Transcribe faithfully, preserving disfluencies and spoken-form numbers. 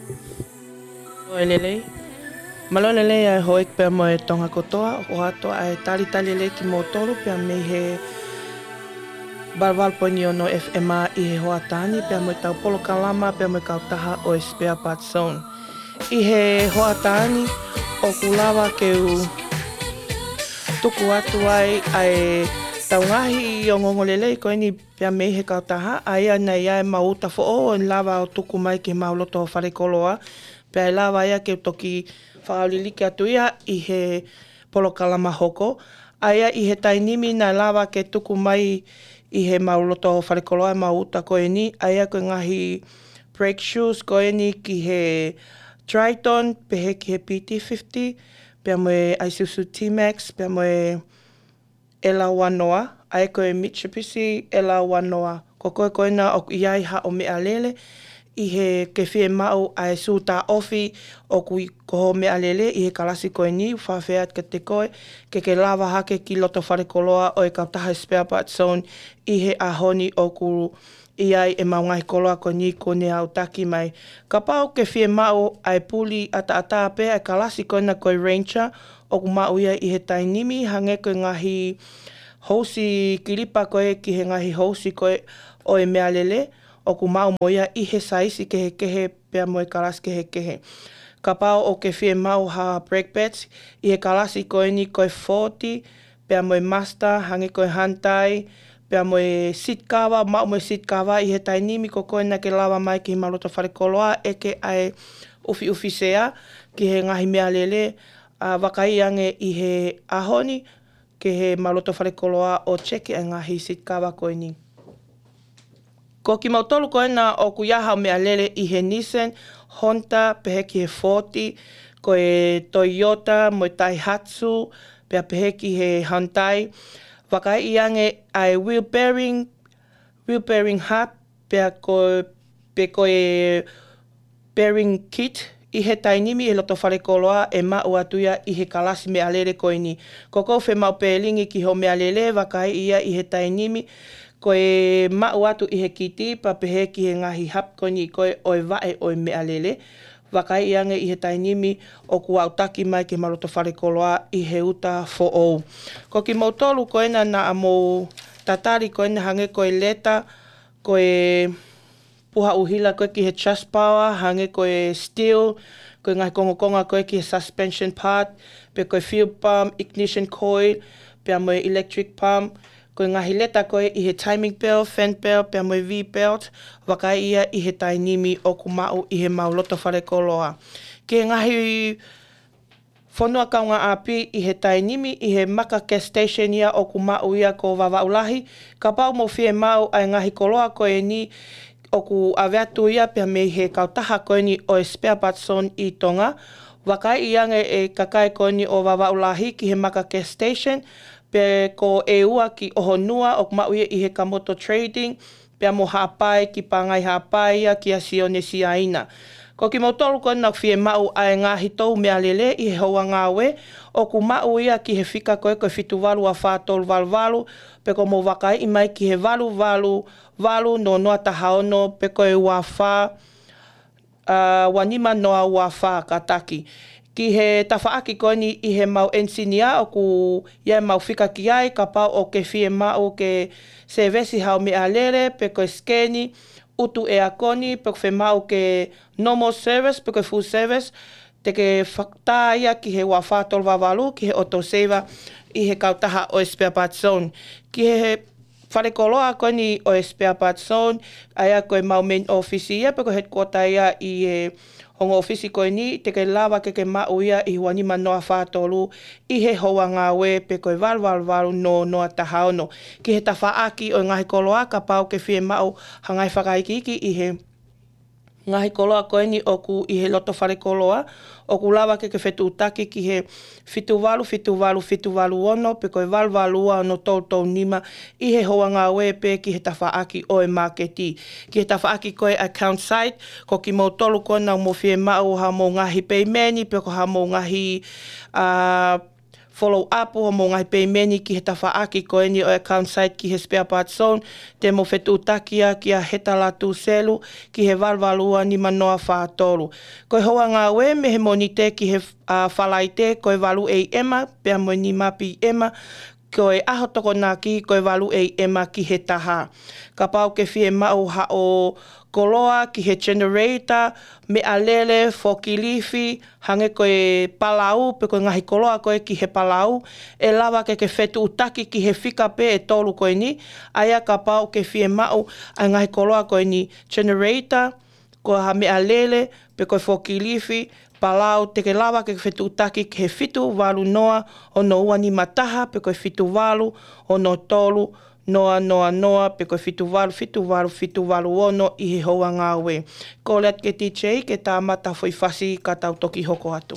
Mālō e lelei. Mālō e lelei ʻa e houʻeiki pea mo e Tonga kotoa, ʻoku ʻoatu ʻa e talitali lelei kimoutolu pea mei he valu valu poini ono F M ʻi he hoʻatā ni pea mo e tau polokalama pea mo e kautaha ʻo e Spare Parts Zone. ʻI he hoʻatā ni ʻoku lava ke u tuku atu ai ʻa e tau ngaahi ongoongo lelei ko eni pea mei he kautaha, ʻa ia naʻe ʻi ai ʻemau uta foʻou ʻo lava ʻo tuku mai ki heʻemau loto falekoloa, pea ʻe lava ia ke toki fakaʻauliliki atu ia ʻi he polokalama hoko. ʻA ia ʻi he taimi ni naʻe lava ke tuku mai ʻi heʻemau loto falekoloa ʻemau uta ko eni, ʻa ia ko e ngaahi brake shoes ko eni ki he Triton, pehē ki he P T fifty, pea mo e Isuzu D-Max, pea mo e L one noa, ʻa ia ko e Mitsubishi L one noa. Ko koe ko ena ʻoku ʻi ai haʻo meʻalele, ʻi he ke fiemaʻu ʻa e sū taʻofi ʻoku ʻi ko hoʻo meʻalele ʻi he kalasi ko eni, fakafeʻao atu kiate koe, ke ke lava hake ki loto falekoloa ʻo e kautaha Spare Parts Zone ʻi he ʻaho ni ʻoku ʻi ai ʻemau ngaahi koloa ko eni kuo ne aʻutaki mai. Kapau ke fiemaʻu ʻa e puli ʻataʻatā pē ʻa e kalasi ko ena ko e Ranger, ʻoku maʻu ia ʻi he taimi ni, hangē ko e ngaahi housi kilipa ko ē ki he ngaahi housi ko ē ʻo e meʻalele, ʻoku maʻu mo ia ʻi he saisi kehekehe pea mo e kalasi kehekehe. Kapau ʻoku ke fiemaʻu ha brake pads, ʻi he kalasi ko eni ko e Ford, pea mo e Mazda, hangē ko e Hyundai, pea mo e seat cover, maʻu mo e seat cover ʻi he taimi ni, ko koe naʻa ke lava mai ki heʻemau loto falekoloa, ʻeke ʻa e ʻufiʻufi sea ki he ngaahi meʻalele, ʻa, vakaiʻi ange ʻi he ʻaho ni ki heʻemau loto falekoloa ʻo check ʻa e ngaahi seat cover ko eni. Ko kimoutolu ko ena ʻoku ʻi ai haʻo meʻalele ʻi he Nissan, Honda, pehē ki he Ford, ko e Toyota, mo e Daihatsu, pea pehē ki he Hyundai. Vakaiʻi ange ʻa e wheel bearing, wheel bearing hub, pea ko, pe ko e bearing kit, ʻi he taimi ni ʻi he loto falekoloa ʻe maʻu atu ia ʻi he kalasi meʻalele ko eni. Ko ʻoku ke fiemaʻu bearing ki hoʻo meʻalele, vakaiʻi ia ʻi he taimi ni, ko e maʻu atu ʻi he kiti, pea pehē ki he ngaahi hub ko eni ko ē ʻo e vaʻe ʻo e meʻalele. Vakaiʻi ange ʻi he taimi ni ʻoku aʻutaki mai ki heʻemau loto falekoloa ʻi he uta foʻou. Ko kimoutolu ko ena naʻa mou tatali ko ena hangē ko e leta, ko e puha ʻuhila ko ē ki he Trustpower, hangē ko e steel, ko e ngaahi kongokonga ko ē ki he suspension part, pe ko e fuel pump, ignition coil, pea mo e electric pump, ko e ngaahi leta ko ē ʻi he timing belt, fan belt, pea mo e V belt, vakaiʻi ia ʻi he taimi ni ʻoku maʻu ʻi heʻemau loto falekoloa. Ki he ngaahi fonua kaungāʻapi ʻi he taimi ni ʻi he maka gas station ia ʻoku maʻu ia ko Vavaʻu Lahi, kapau mou fiemaʻu ʻa e ngaahi koloa ko eni ʻoku ʻave atu ia pea mei he kautaha ko eni ʻo e Spare Parts Zone ʻi Tonga. Vakaiʻi ange ʻe kakai ko eni ʻo Vavaʻu Lahi ki he maka gas station, pe ko e ua ki ʻOhonua ʻoku maʻu ia ʻi he Kamoto Trading, pea mo Haʻapai ki Pangai Haʻapai ia kia Sione Siaina. Ko kimoutolu ko ena ʻoku fiemaʻu ʻa e ngaahi tou meʻalele ʻi he houa ngāue, ʻoku maʻu ia ki he fika ko ē ko e fitu valu ua fā tolu valu valu, pe ko hoʻomou vakaiʻi mai ki he valu valu valu noa noa taha ono, pe ko e ua fā, ʻa, ua nima noa ua fā kātaki. Ki he tafaʻaki ko eni ʻi heʻemau ʻenisinia ʻoku ʻi ai ʻemau fika ki ai, kapau ʻoku ke fiemaʻu ke sevesi haʻo meʻalele, pe ko e sikeni, ʻutu ʻeakoni, pe ʻoku fiemaʻu ke normal service, pe ko e full service, te ke fakatā ia ki he ua fā tolu valu valu ki he Auto Saver ʻi he kautaha ʻo e Spare Parts Zone. Ki he falekoloa ko eni ʻo e Spare Parts Zone, ʻa ia ko ʻemau main office ia, pe ko e headquarter ia ʻi he ongo office ko eni, te ke lava ke ke maʻu ia ʻi he ua nima noa fā tolu ʻi he houa ngāue pe ko e valu valu valu noa noa taha ono. Ki he tafaʻaki ʻo e ngaahi koloa, kapau ʻoku ke fiemaʻu ha ngaahi fakaikiiki ʻi he ngaahi koloa ko eni ʻoku ʻi he loto falekoloa, ʻoku lava ke ke fetuʻutaki ki he fitu valu fitu valu fitu valu ono pe ko e valu valu ua ono tolu tolu nima ʻi he houa ngāue pe ki he tafaʻaki ʻo e māketi. Ki he tafaʻaki ko e account side, ko kimoutolu ko ena ʻoku mou fiemaʻu haʻamou ngaahi peimeni pe ko haʻamou ngaahi, ʻa, follow up hoʻomou ngaahi peimeni ki he tafaʻaki ko eni ʻo e account site ki he spare parts zone, te mou fetuʻutaki ia kia Heta Latu Selu ki he valu valu ua nima noa fā tolu. Ko e houa ngāue mei he Mōnite ki he, ā, Falaite ko e valu A M pea mo e nima P M, ko e ʻaho Tokonaki ko e valu A M ki he taha. Kapau ʻoku ke fiemaʻu haʻo koloa ki he generator, meʻalele, forklift, hangē ko e palau, pe ko e ngaahi koloa ko ē ki he palau, ʻe lava ke ke fetuʻutaki ki he fika pē ʻe tolu ko eni, ʻa ia kapau ʻoku ke fiemaʻu ʻa e ngaahi koloa ko eni, generator, ko ha meʻalele, pe ko e forklift, palau, te ke lava ke ke fetuʻutaki ki he fitu valu noa ono ua nima taha, pe ko e fitu valu ono tolu noa noa noa, pe ko e fitu valu fitu valu fitu valu ono ʻi he houa ngāue. Kole atu ki he D J ke tā mata foʻi fasi ka tau toki hoko atu.